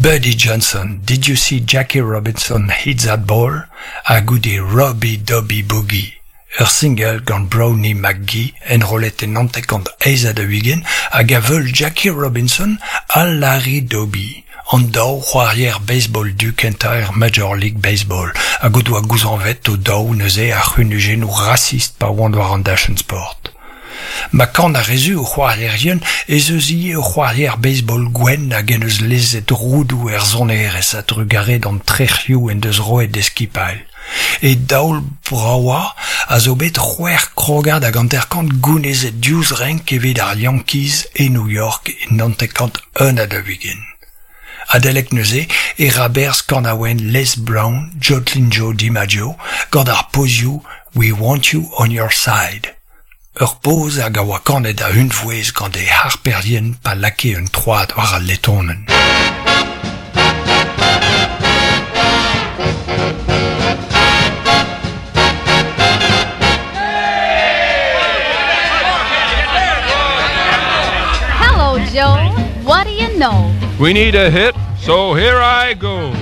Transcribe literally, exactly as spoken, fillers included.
Buddy Johnson, Did You See Jackie Robinson Hit That Ball? Ha goude Robbie Dobby Boogie. Ur single gant Brownie McGhee enrollet en hanter-kant eizh ha daou-ugent hag a veul Jackie Robinson ha Larry Doby, an daou c'hoarier baseball du kentañ er Major League Baseball, hag o doa gouzañvet o daou neuze ar c'hunujennoù rasist pa oant war an dachenn sport. Ma kan ar re zu o c'hoarierien ez eus ivez ur c'hoarier baseball gwenn hag en deus lezet roudoù er sonerezh a-drugarez d'an trec'hioù en deus roet d'e skipailh. E daol bravañ a zo bet c'hwec'h krogad hag hanter-kant gounezet diouzh renk evit ar Yankees e New York en hanter-kant un ha daou-ugent. Adalek neuze e ra berzh kanaouenn Les Brown, Joltin' Joe DiMaggio, gant ar pozioù We Want You On Your Side. Ur poz hag a oa kanet a-unvouezh gant e harperien pa lakae un troad war al letonenn. Hello, Joe. What do you know? We need a hit, so here I go.